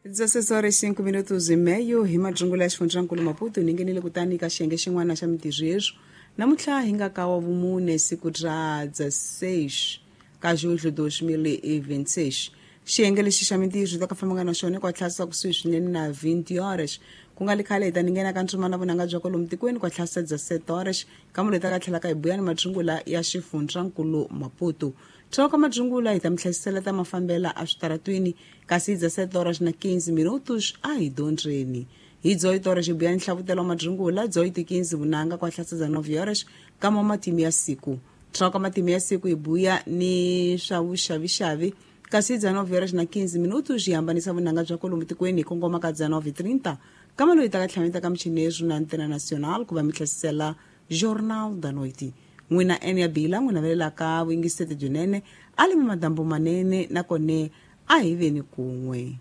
16 horas 5 minutos e meio hi madzungula ya xifundzankulu Maputo ni nghenile kutani ka xiyenge xin'wana xa mintirho yeswo namuntlha hi nga ka wa vumune siku ra 16 ka julho 2026. Xiyenge lexi xa mintirho ta ka fambanga na xona kwa tlhasa kusuhi swinene na 20 horas, ku nga li khale hi ta ni nghena ka ntsumana vunanga bya kwalomu tikweni kwa tlhasa 17 horas, kambe ta ka tlhela ka hi buya ni madzungula ya xifundzankulu Maputo. Thoka madzungula hi ta mi hlayisela ta mafambela a switaratwini, kasi hi 17 horas na 15 minutos a hi dyondzeni. Hi 18 horas hi buya ni nhlavutelo wa madzungula, 18:15 vunanga kwa tlhasa 19 horas kama matimu ya siku. Thoka matimu ya siku hi buya ni swa vuxavixavi, kasi hi 19 horas na 15 minutos hi hambanisa vunanga bya kwalomu tikweni hi kongoma ka 19:30, kama loyi ta ka tlhameta ka michinezu na Antena Nacional ku va mi hlasisela Jornal da Noite. N'wina ene ya bila n'wi navelelaka vuyingiseti byinene, a limi madambu manene, nakone a hi veni kun'we.